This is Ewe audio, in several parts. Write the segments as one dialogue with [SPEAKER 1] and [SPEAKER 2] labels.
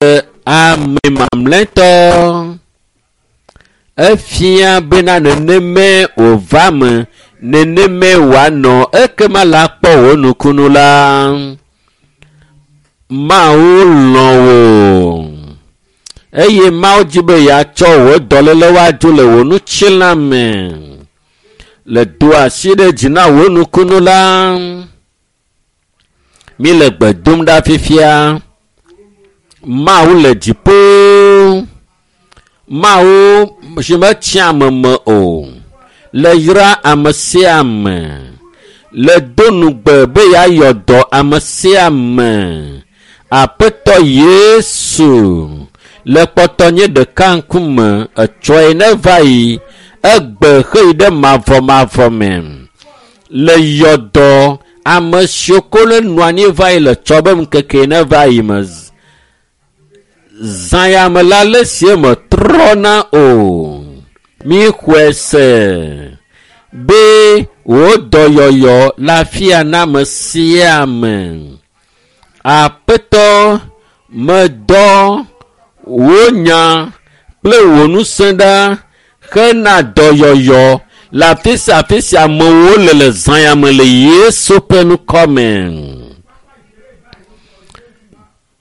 [SPEAKER 1] Ame mamlɛtɔ efia bena nenemae wòva me, nenemae wòanɔ ekema la kpɔ wò nukunu la. Mawu lɔ̃ wò eye Mawu dzi be yeatsɔ wò dɔlélewo adzo le wò ŋutilã me. Le do asi ɖe dzi na wò nukunu la. Mi le gbe dom ɖa fifia. Mawu le dziƒo. Mawu si metsia ame me o. Le yra ame sia ame. Le do nugbe be yeayɔ dɔ ame sia ame. Aƒetɔ Yesu le kpɔtɔ nye ɖeka ŋkume etsɔe ne va yi egbe xeyi ɖe mavɔmavɔ me. Le yɔ dɔ ame siwo ko ne nɔ anyi va yi le tsɔ be ŋkeke ne va yi me. Zã ya me la le sie me trɔna o. Mi xɔe se be wò dɔyɔyɔ le afia na ame sia ame. Aƒetɔ medɔ wò nya kple wò ŋusẽ ɖa hena dɔyɔyɔ le afi sia afi si amewo le le zã ya me le Yesu ƒe ŋkɔ me.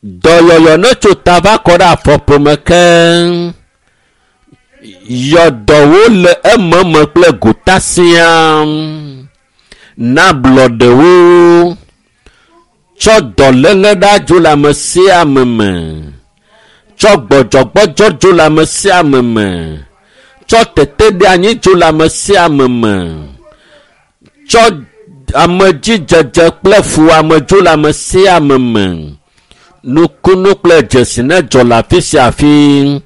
[SPEAKER 1] Dɔyɔyɔ ne tso ta va kɔ ɖe afɔƒome keŋ. Yɔdɔwo le ememe kple gota siaa. Na ablɔɖewo. Tsɔ dɔléle ɖa dzo le ame sia ame me. Tsɔ gbɔdzɔgbɔdzɔ dzo le ame sia ame me. Tsɔ teteɖeanyi dzo le ame sia ame me. Tsɔ amedzidzedze kple fuwɔame dzo le ame sia ame me. Nukunu kple dzesi ne dzɔ le afi sia afi.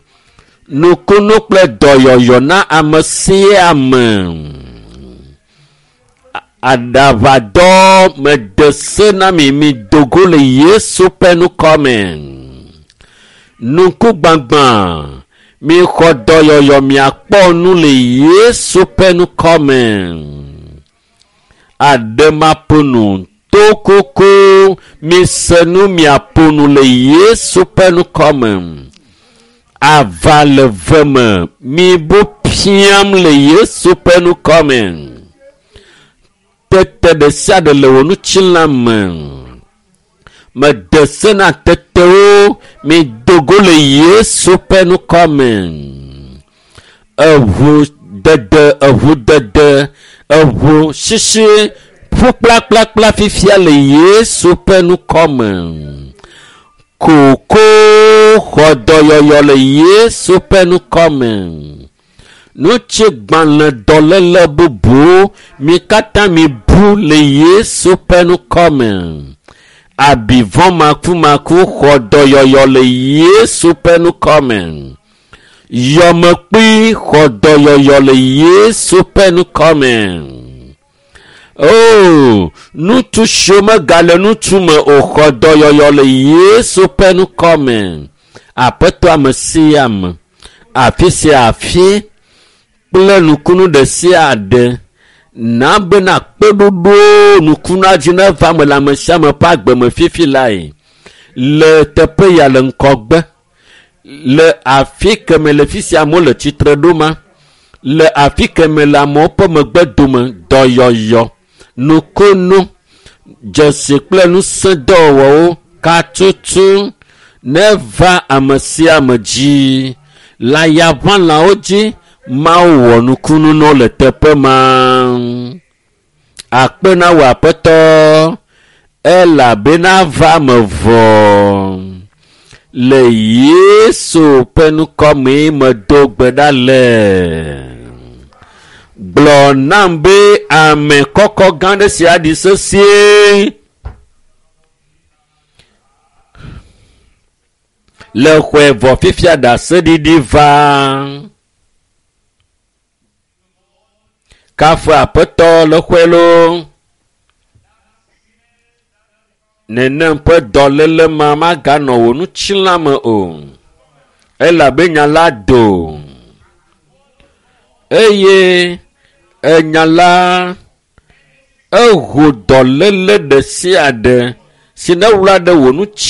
[SPEAKER 1] Nukunu kple dɔyɔyɔ na ame sia ame. Aɖaʋadɔ mede se na mi mi do go le Yesu ƒe ŋkɔ me. Nukugbãgbã mixɔ dɔyɔyɔ miakpɔ nu le Yesu ƒe ŋkɔ me. Aɖemaƒonu tokoko mise nu miaƒo nu le Yesu ƒe ŋkɔ me. Ava le ve me mibu piam le Yesu ƒe ŋkɔ me. Tete ɖe sia ɖe le wò ŋutilã me. Mede se na tetewo mido go le Yesu ƒe ŋkɔ me. Eʋu dede eʋu dede eʋu sisi ƒu kplakplakpla fifia le Yesu ƒe ŋkɔ me. Koko xɔ dɔyɔyɔ le Yesu ƒe ŋkɔ me. Ŋutigbalẽ dɔléle bubu mi katã mi bu le Yesu ƒe ŋkɔ me. Abivɔ makumaku xɔ dɔyɔyɔ le Yesu ƒe ŋkɔ me. Yɔmekpui xɔ dɔyɔyɔ le Yesu ƒe ŋkɔ me. Oo, ŋutsu siwo megale ŋutsu me o xɔ dɔyɔyɔ le Yesu ƒe ŋkɔ me. Aƒetɔ ame sia ame, afi sia afi kple nukunu ɖe sia ɖe na bena kpeɖoɖo nukunua dzi neva eme le ame sia ame ƒe agbe me fifi lae. Le teƒe ya le ŋgɔgbe, le afi keme le fi sia amewo le tsitre ɖo ma, le afi keme le amewo ƒe megbe dome dɔyɔyɔ, nukunu, dzesi kple ŋusẽdɔwɔwɔwo katutu neva ame sia ame dzi. Le ayaʋãlawo dzi Mawu wɔ nukunu na wo le teƒe ma. Akpe na wò aƒetɔ elabena va me vɔ. Le Yesu ƒe ŋkɔ mee medo gbe ɖa le. Gblɔ nam be ame kɔkɔ gã ɖe sia ɖi sesĩe. Le xɔe vɔ fifia ɖaseɖiɖi va. Kafu aƒetɔ le xɔe loo. Nenem ƒe dɔléle ma maganɔ wò ŋutilã me o. Elabe nya la do. Eye enya la eho dɔléle ɖe sia ɖe si ne wla ɖe wò ŋuti.